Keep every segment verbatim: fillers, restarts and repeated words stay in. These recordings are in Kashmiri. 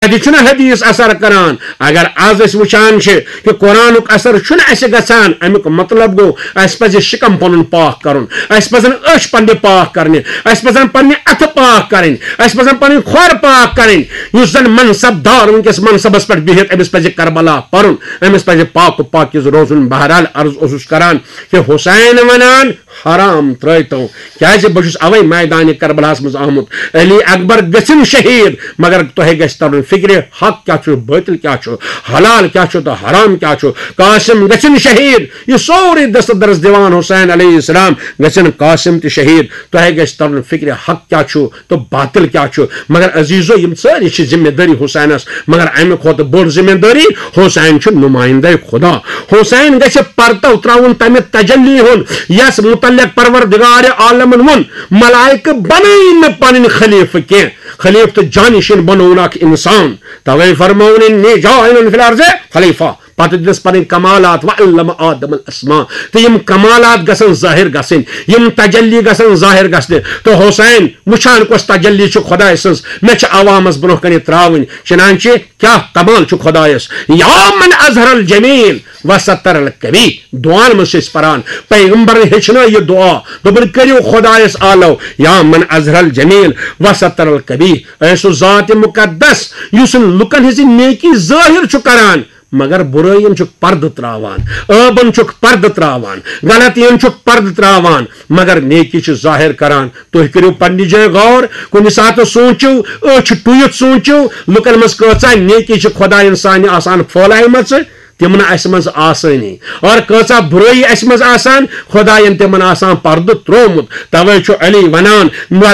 تتہِ چھُنہٕ حدیث اثر کران۔ اگر از أسۍ وٕچھان چھِ کہِ قرآنُک اثر چھُنہٕ اَسہِ گژھان، اَمیُک مطلب گوٚو اَسہِ پزِ شکم پنُن پاک کرُن، اَسہِ پزن أچھ پننہِ پاک کرنہِ، اَسہِ پزن پننہِ اتھٕ پاک کرٕنۍ، اَسہِ پزن پنٕنۍ کھۄر پاک کرٕنۍ۔ یُس زن منصب دار وٕنکیٚس منصبس پٮ۪ٹھ بِہِتھ، أمِس پزِ کربلا پرُن، أمِس پزِ پاک و پاکیز روزُن۔ بہرحال عرض اوسُس کران کہِ حسین ونان، حرام ترٲوتو، کیازِ بہٕ چھُس اوے میدانِ کربلاہس منٛز آمُت۔ علی اکبر گژھن شہید، مگر تۄہہِ گژھِ ترُن فکرِ حق کیاہ چھُ، باطل کیاہ چھُ، حلال کیاہ چھُ تہٕ حرام کیاہ چھُ۔ قاسم گژھن شہید، یہِ سورُے دست درس دِوان حسین علیہ السلام، گژھن قاسم تہِ شہید، تۄہہِ گژھِ ترُن فکرِ حق کیاہ چھُ تہٕ باطل کیاہ چھُ۔ مگر عزیزو، یِم سٲری چھِ ذمہ دٲری حسینس، مگر امہِ کھۄتہٕ بٔڑ ذمہ دٲری، حسین چھُ نمائندہ خدا۔ حسین گژھِ پردٕ تراوُن تمہِ تجلی ہُنٛد، یس متعلق پروردگار عالمن ووٚن، ملائکہ بنٲیِن نہٕ پنٕنۍ خلیفہٕ کینٛہہ، خلیفہٕ تہٕ جانشین بنووُن اکھ انسان۔ توے فرمووُن، انی جاعل فی الارض خلیفہ۔ پتہٕ دِژ پنٕنۍ کمالات، وعلم آدم الاسماء، تہٕ یِم کمالات گژھن ظٲہر گژھٕنۍ، یِم تجلی گژھن ظٲہر گژھنہِ۔ تہٕ حسین وٕچھان کۄس تجلی چھِ خداے سٕنٛز، مےٚ چھِ عوامس برونٛہہ کنہِ تراوٕنۍ۔ چنانچہ کیاہ کمال چھُ خدایس، یا من اظہر الجمیل و ستر القبیح۔ دعان منٛز چھِ أسۍ پران، پیغمبرن ہیٚچھنٲو یہِ دعا، دوٚپُن، کٔرِو خدایس آلو، یا من اظہر الجمیل و ستر القبیح۔ اے سُہ ذات مقدس یُس لُکن ہٕنٛز نیکی ظٲہر چھُ کران، مگر بُرٲیِن چھُکھ پردٕ تراوان، عٲبن چھُکھ پردٕ تراوان، غلطین چھُکھ پردٕ تراوان، مگر نیکی چھُ ظٲہر کران۔ تُہۍ کٔرِو پننہِ جایہِ غور، کُنہِ ساتہٕ سوٗنٛچِو، أچھ ٹُوِتھ سوٗنٛچِو، لُکن منٛز کۭژاہ نیکی چھِ خۄداین سانہِ آسان پھٲلایمژٕ، تِم نہٕ اسہِ منٛز آسٲنی، اور کۭژاہ بُرٲیی اسہِ منٛز آسان، خۄداین تِمن آسان پردٕ تروومُت۔ توے چھُ علی ونان،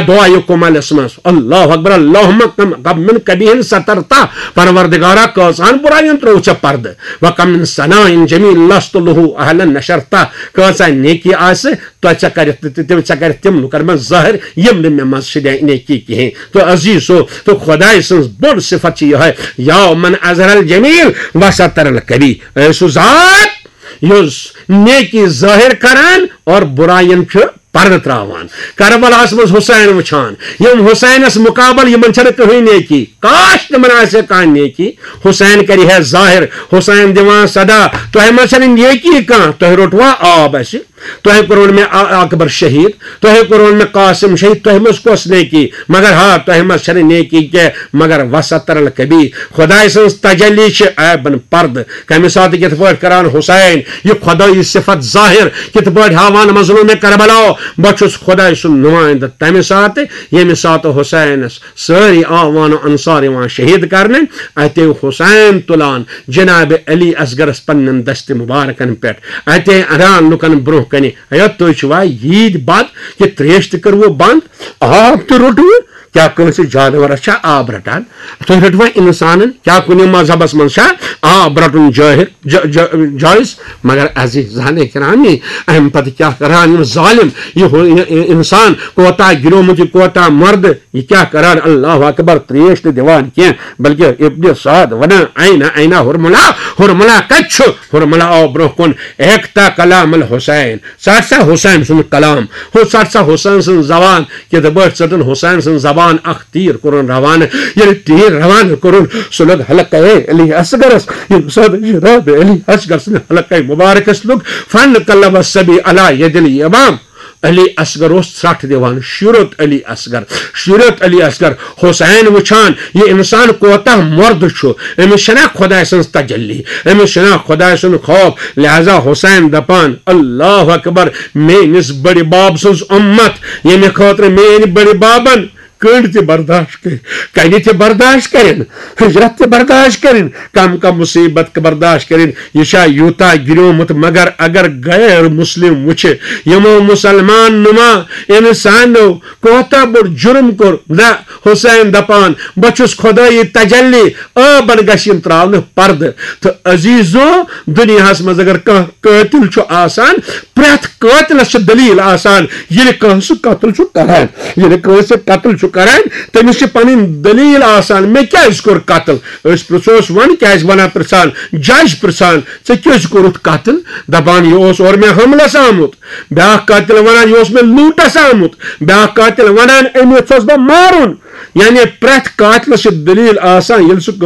دعایہِ کمالس منٛز، اللہ اکبر، اللہم کم، کم من قبیح سترتہ، پروردگارا، کۭژہن بُرایَن تروو ژےٚ پردٕ، وکم من ثناء جمیل لست لہ اہلا نشرتہ، کۭژاہ نیکی آسہِ، تۄہہِ ژےٚ کٔرِتھ تہِ، تہِ، تہِ، ژےٚ کٔرِتھ تِم لُکن منٛز ظٲہر، یِم نہٕ مےٚ منٛز چھِ نے-، نیکی کِہیٖنۍ۔ تہٕ عزیزو، تہٕ خۄداے سٕنٛز بٔڑ صفت چھِ یِہوٚے، یا من اظہر الجمیل و ستر القبیح۔ اے سُہ ذات، یُس نیکی ظٲہر کران اور بُرایَن چھُ پردٕ تراوان۔ کربلاہس منٛز حسین وٕچھان، یِم حسینس مقابل، یِمن چھنہٕ کٕہٕنۍ نیکی، کاش تِمن آسہِ ہے کانٛہہ نیکی۔ حسین کرِ ہے ظٲہر، حسین دِوان صدا، تۄہہِ منٛز چھنہٕ نیکی کانٛہہ، تۄہہِ روٚٹوا آب اسہِ؟ تۄہہِ کوٚروٕ مےٚ ا-، اکبر شہید، تۄہہِ کوٚروٕ مےٚ قاسم شہید، تۄہہِ منٛز کۄس نیکی؟ مگر ہا، تۄہہِ منٛز چھنہٕ نیکی کینٛہہ، مگر وستر القبیح۔ خۄداے سٕنٛز تجلی چھِ عیبن پردٕ۔ کمہِ ساتہٕ کِتھ پٲٹھۍ کران حسین یہِ خۄدٲیی صفت ظٲہر، کِتھ پٲٹھۍ ہاوان مظلوم کربلا، بہٕ چھُس خۄداے سُنٛد نُمایندٕ۔ تمہِ ساتہٕ، ییٚمہِ ساتہٕ حسینس سٲری اعوان و انصار یِوان شہید کرنہٕ، اتے حسین تُلان جناب علی اصغرس پننٮ۪ن دستِ مبارکن پٮ۪ٹھ، اتے انان لُکن برونٛہہ کنہِ، ہے تُہۍ چھِوا ییٖتۍ بد کہِ تریش تہِ کٔروٕ بنٛد، آب تہِ روٚٹوٕ؟ کیٛاہ کٲنٛسہِ جانورس چھا آب رٹان؟ تُہۍ رٔٹوا انسانن؟ کیٛاہ کُنہِ مذہبس منٛز چھا آب رٹُن جٲہر-، جا-، جا-، جٲیز؟ مگر عزیزان کرام، امہِ پتہٕ کیٛاہ کران یِم ظٲلم، یہِ ہُہ-، یہِ، یہِ انسان کوتاہ گِریومُت، یہِ کوتاہ مردٕ، یہِ کیٛاہ کران؟ اللہ اکبر، تریش نہٕ دِوان کینٛہہ، بلکہ ابن سعد ونان، "این، این حرملہ؟ حرملہ کتہِ چھُ؟" حرملہ آو برونٛہہ کُن، "اقطع کلام الحسین"، ژٹ سا حسین سُنٛد کلام، ہُہ ژٹ سا حسین سٕنٛز زبان، کِتھ پٲٹھۍ ژٔٹٕن حسین سٕنٛز زبان، اکھ تیٖر کوٚرُن روانہٕ۔ ییٚلہِ تیٖر روانہٕ کوٚرُن، سُہ لوٚگ حلقے علی اصغرس۔ ییٚمہِ ساتہٕ جناب علی اصغر سٕنٛدِ حلقے مبارکس لوٚگ، فن قلب الصبی علی ید الامام۔ علی اصغر اوس ژھرٹھ دِوان، شُرت علی اصغر، شُرت علی اصغر۔ حسین وٕچھان، یہِ انسان کوتاہ مردٕ چھُ، أمِس چھَنا خۄداے سٕنٛز تجلی، أمِس چھُنا خۄداے سُنٛد خوف۔ لہذا حسین دپان، اللہ اکبر، میٲنِس بٔڑِ بب سٕنٛز اُمت، ییٚمہِ خٲطرٕ میٲنۍ بٔڑِ ببن کٔنڈ تہِ برداشت کٔرۍ، کنہِ تہِ برداشت کٔرِن، ہجرت تہِ برداشت کٔرِن، کم کم مصیبت تہِ برداشت کٔرِن۔ یہِ چھا یوٗتاہ گِریومُت؟ مگر اگر غیر مسلم وٕچھِ، یِمو مسلمان نما انسانو کوتاہ بوٚڑ جُرم کوٚر۔ نہ، حسین دپان، بہٕ چھُس خۄدٲیی تجلی، عٲبن گژھِ یِم تراونہٕ پردٕ۔ تہٕ عزیزو، دُنیاہس منٛز اگر کانٛہہ قٲتل چھُ آسان، پرٛٮ۪تھ قٲتلس چھِ دٔلیٖل آسان، ییٚلہِ کانٛہہ سُہ قتل چھُ کران، ییٚلہِ کٲنٛسہِ قتل چھُ کران، تٔمِس چھِ پنٕنۍ دٔلیٖل آسان، مےٚ کیٛازِ کوٚر قتل؟ أسۍ پرٛژھوس، وَن کیٛازِ وَنان پرٛژھان، جج پرٛژھان، ژےٚ کیٛازِ کوٚرُتھ قتل؟ دَپان، یہِ اوس اورٕ مےٚ حملس آمُت۔ بیٛاکھ قاتل وَنان، یہِ اوس مےٚ لوٗٹس آمُت۔ بیٛاکھ قاتل وَنان، أمۍ یژھوس بہٕ مارُن۔ یعنی پرٛٮ۪تھ قاتلس چھِ دٔلیٖل آسان، ییٚلہِ سُہ